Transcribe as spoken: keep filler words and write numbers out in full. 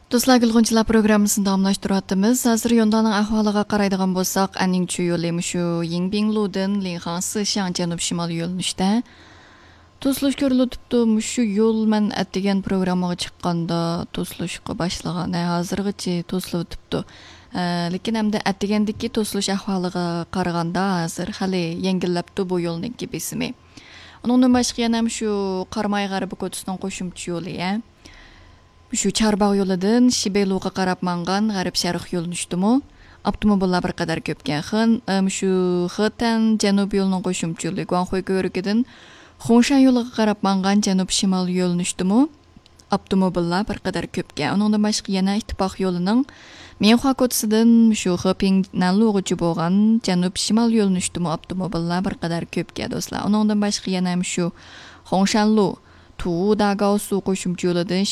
دوستلار، گۈلغۇنچىلار پروگراممىسىنى داۋاملاشتۇرۇۋاتىمىز. ھازىر يونداننىڭ ئەھۋالىغا قارايدىغان بولساق، ئەننىڭچۈ يولى مۇشۇ يىڭبىڭلۇدىن لىڭخاڭسىشياڭ جەنۇب شىمال يۆنىلىشتە توسۇلۇش كۆرۈلۈۋېتىپتۇ. مۇشۇ يول مەن ئەتىگەن پروگراممىغا چىققاندا توسۇلۇشقا باشلىغان. ھە، ھازىرغىچە توسۇلۇۋېتىپتۇ. ھە، لېكىن ئەمدى ئەتىگەندىكى توسۇلۇش ئەھۋالىغا قارىغاندا ھازىر خېلى يەڭگىللەپتۇ بۇ يولنىڭكى بېسىمى. ئۇنىڭدىن باشقا يەنە مۇشۇ قاراماي غەربىي كوچىسىنىڭ قوشۇمچە يولى، ھە. مۇشۇ چارباغ يولىدىن شىبېيلۇغا قاراپ ماڭغان غەرب شەرق يۆنىلىشتىمۇ ئاپتوموبىللار بىر قەدەر كۆپكەن. خېن-، ئە، مۇشۇ خېتەن جەنۇب يولىنىڭ قوشۇمچە يولى گۇاڭخۇي كۆۋرۈكىدىن خۇڭشەن يولىغا قاراپ ماڭغان جەنۇب شىمال يۆنىلىشتىمۇ ئاپتوموبىللار بىر قەدەر كۆپكەن. ئۇنىڭدىن باشقا يەنە ئىتتىپاق يولىنىڭ مىنخۇا كوچىسىدىن مۇشۇ خېپىڭ نەنلۇغىچە بولغان جەنۇب شىمال يۆنىلىشتىمۇ ئاپتوموبىللار بىر قەدەر كۆپكەن، دوستلار. ئۇنىڭدىن باشقا يەنە مۇشۇ خۇڭشەنلۇ تۇۋۇ داگاۋسۇ قوشۇمچە يولىدىن